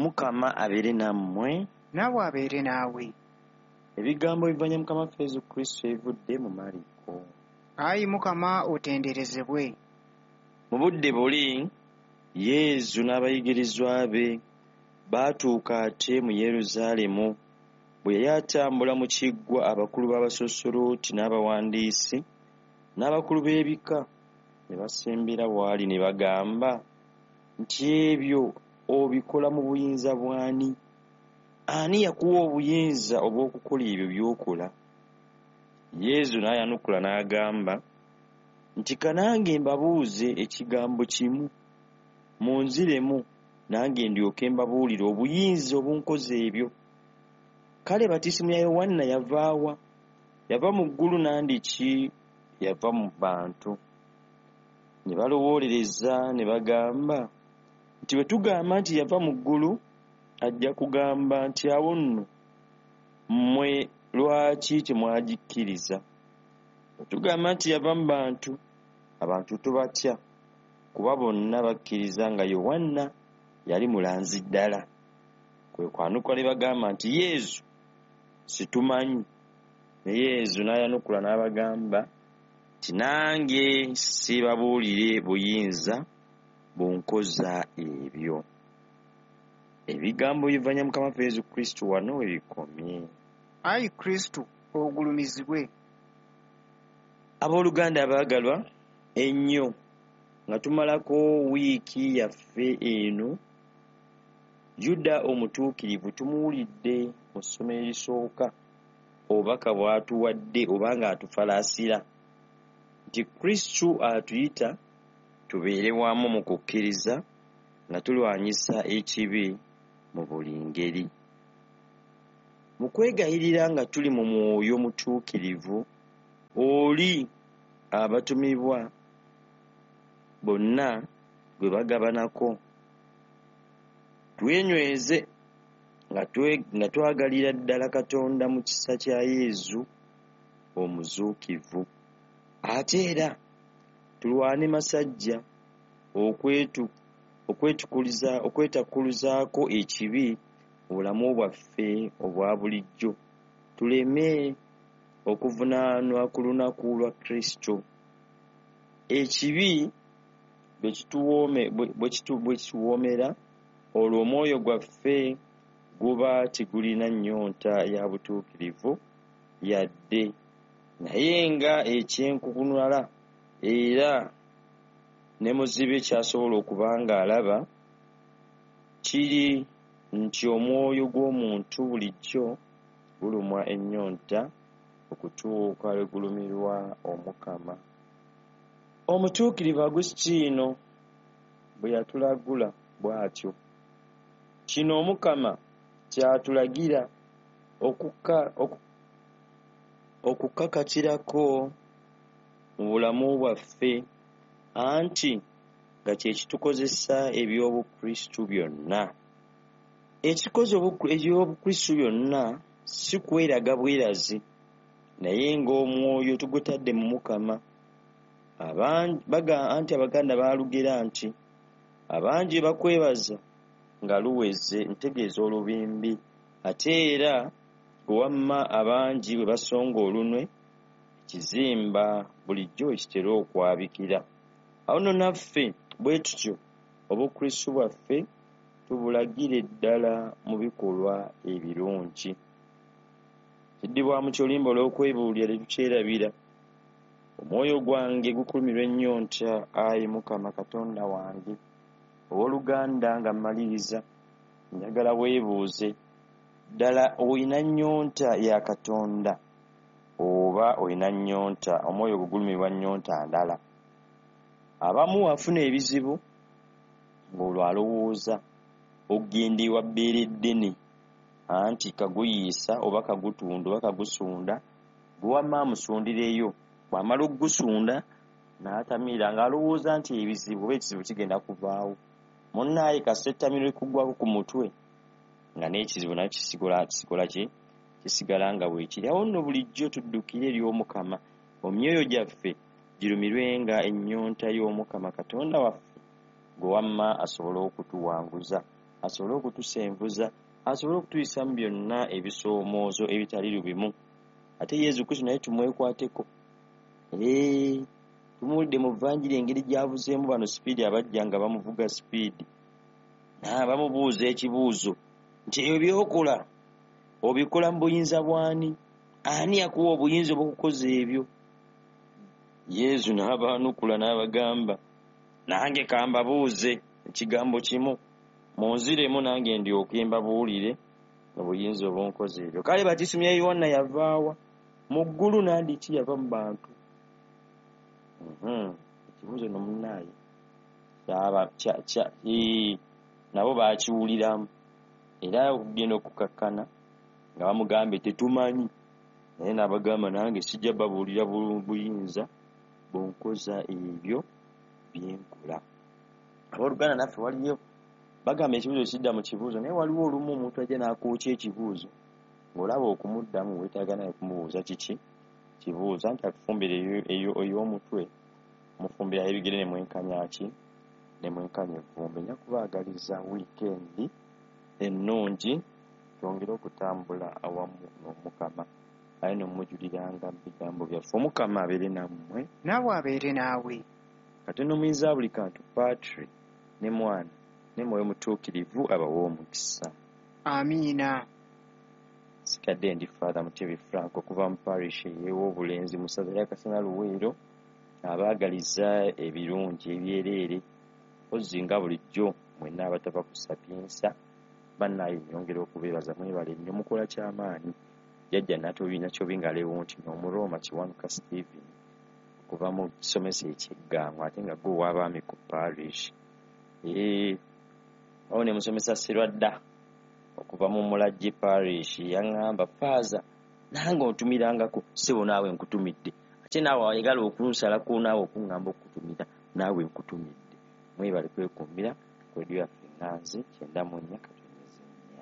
Omukama abeere nammwe. Naawe abeere naawe. Ebigambo bivanya Mukama waffe Yesu Kristo ebivudde mu Mariko. Ayi Mukama otenderezebwe. Mu budde buli Yesu n'abayigirizwa be baatuuka ate mu Yerusaalemu. Bwe yali atambula mu kiggwa, abakulu b'abasoosolooti n'abawandiisi n'abakulu b'ebika ne basembera w'ali ne bagamba nti, ebyo obikola mu buyinza bw'ani? Ani yakuwa obuyinza obw'okukola ebyo by'okola? Yesu n'ayanukula n'agamba nti, ka nange mbabuuze ekigambo kimu, munziremu nange ndyoke mbabuulire obuyinza obunkoza ebyo. Kale batisimu ya Yowanna yava wa? Yava mu ggulu nandiki yava mu bantu? Ne balowoolereza ne bagamba nti, bwe tugamba nti yava mu ggulu, ajja kugamba nti awo nno mmwe lwaki temwagikkiriza? Bwe tugamba nti yava mu bantu, abantu tubatya, kuba bonna bakkiriza nga Yowanna yali mulanzi ddala. Kwe kwanukula ne bagamba nti, Yesu situmanyi. Ne Yesu n'ayanukula n'abagamba nti, nange sibabuulire buyinza bunkoza ebyo. Ebigambo bivanya Mukama waffe Yesu Kristo wano we bikomye. Ayi Kristo ogulumizibwe. Abooluganda abaagalwa ennyo, nga tumalako wiiki yaffe eno, Yuda omutuukirivu tumuwulidde mu ssomo erisooka obubaka bw'atuwadde oba ng'atufalaasira nti Kristo atuyita tubeere wamu mu kukkiriza nga tulwanyisa ekibi mu buli ngeri. Mu kwegayirira nga tuli mu mwoyo mutuukirivu, oli abatumibwa bonna gwe bagabanako, twenyweze nga twagalira ddala Katonda mu kisa kya Yesu omuzuukivu. Ate era tulwane masajja okwetakkuluzaako ekibi mu bulamu bwaffe obwa bulijjo, tuleme okuvunaanwa ku lunaku lwa Kristo. Ekibi bwe kituwoomera, olwo omwoyo gwaffe guba tegulina nnyonta ya butuukirivu yadde, naye nga ekyenkukunala era ne muzibe ky'asobola okuba ng'alaba kiri nti omwoyo gw'omuntu bulijjo gulumwa ennyonta okutuuka lwe gulumirwa Omukama. Omutuukirivu Agusitiino bwe yatulagula bw'atyo. Kino Omukama ky'atulagira okukakatirako mu bulamu bwaffe, anti nga kye kitukozesa eby'Obukristu byonna. Ekikoze eby'Obukristu byonna si kweraga bwerazi, naye ng'omwoyo tugutadde mu Mukama. Anti Abaganda baalugera nti abangi bakwebaza nga luweze, ntegeeza olubimbi, ate era gwe wamma abangi bwe basonga olunwe, ekizimba bulijjo we kitera okwabikira. Awo nno naffe bwe tutyo Obukristu bwaffe tubulagire ddala mu bikolwa ebirungi. Kiddibwamu ky'oluyimba olw'okwebuulira tetukyerabira. Omwoyo gwange gukulumirwa ennyonta, ayi Mukama Katonda wange. Owooluganda nga mmaliriza, njagala weebuuze, ddala olina nnyonta ya Katonda oba olina nnyonta, omwoyo gwo gulumirwa nnyonta ndala? Abamu afuna ebizibu ng'olwo alowooza okugenda ewa bbeere ddene, anti kaguyiisa oba kagutunda oba kagusunda, gwe wamma amusundireyo. Bw'amala okugusunda n'atamiira ng'alowooza nti ebizibu oba ekizibu kigenda kuvaawo. Munnaaye kasita ettamiiro likugwako ku mutwe nga n'ekizibu nakyo kisigala nga bwekiri. Awo nno bulijjo tuddukire eri Omukama, emyoyo gyaffe girumirwenga ennyonta y'Omukama Katonda waffe, gwe wamma asobole okutuwanguza. asobole okutusenvuza, asobole okutuyisa mu byonna ebisoomoozo ebitali bimu. Ate Yezu Kristo naye tumwekwateko. Tumuwulidde mu vanjiri engeri gy'avuzeemu bano sipiidi, abajja nga bamuvuga sipiidi, bamubuuza ekibuuzo nti ebyo by'okola obikola mu buyinza bw'ani? Ani akuwa obuyinza obw'okukoza ebyo? Yezu n'abaanukula n'abagamba, nange kambabuuze ekigambo kimu, munziremu nange ndyoke mbabuulire obuyinza obunkoza ebyo. Kale batisumya Yowanna yavaawa? Mu ggulu nandiki yava mu bantu? Ekibuuzo no munnaaye nabo baakiwuliramu, era okugenda okukakkana nga bamugambye tetumanyi, naye n'abagamba nange sijja babuulira buyinza bunkoza ebyo byenkola. Abooluganda naffe waliyo bagamba ekibuuzo kidda mu kibuuzo, naye waliwo olumu omuntu ajja n'akwokya ekibuuzo ng'olaba okumuddamu weetaaga naye kumubuuza kiki kibuuzo, anti akufumbira ey'omutwe mufumbira ebigere ne mwenkanya ki ne mwenkanya evvumbe. Nja kubaagaliza wiikendi ennungi, twongere okutambula awamu n'Omukama, aye n'omujuliranga mu bigambo byaffe. Omukama abeere nammwe, naawe abeere naawe. Katonda omuyinza buli kantu, Patri ne Mwana ne Mwoyo Mutuukirivu abawe omukisa. Amiina. Sigadde ndi Father Mutebi Frank okuva mu parish ey'Owobulenzi mu ssaza lya Kasana Luweero, abaagaliza ebirungi ebyereere ozzi nga bulijjo mwenna abatava ku Sapiensa. Bannaaye nnyongera okubeebaza, mwebale nnyo, mukola kyamaanyi. Jjajja Nakyobi nga Lewonti n'Omurooma Kiwanuka Stephen okuva mu kisomesa eky'Eggango, ate nga gwe ow'abaami ku parish. Awo ne musomesa Sirwadda okuva mu Mulajje parish yaŋŋamba, Faaza nange ontumirangako, ssebo naawe nkutumidde, ate naawe ayagala okunsalako naawe okuŋŋamba okukutumira naawe nkutumidde. Mwebale kwekuumira ku rediyo yaffe Ŋŋanzi 94.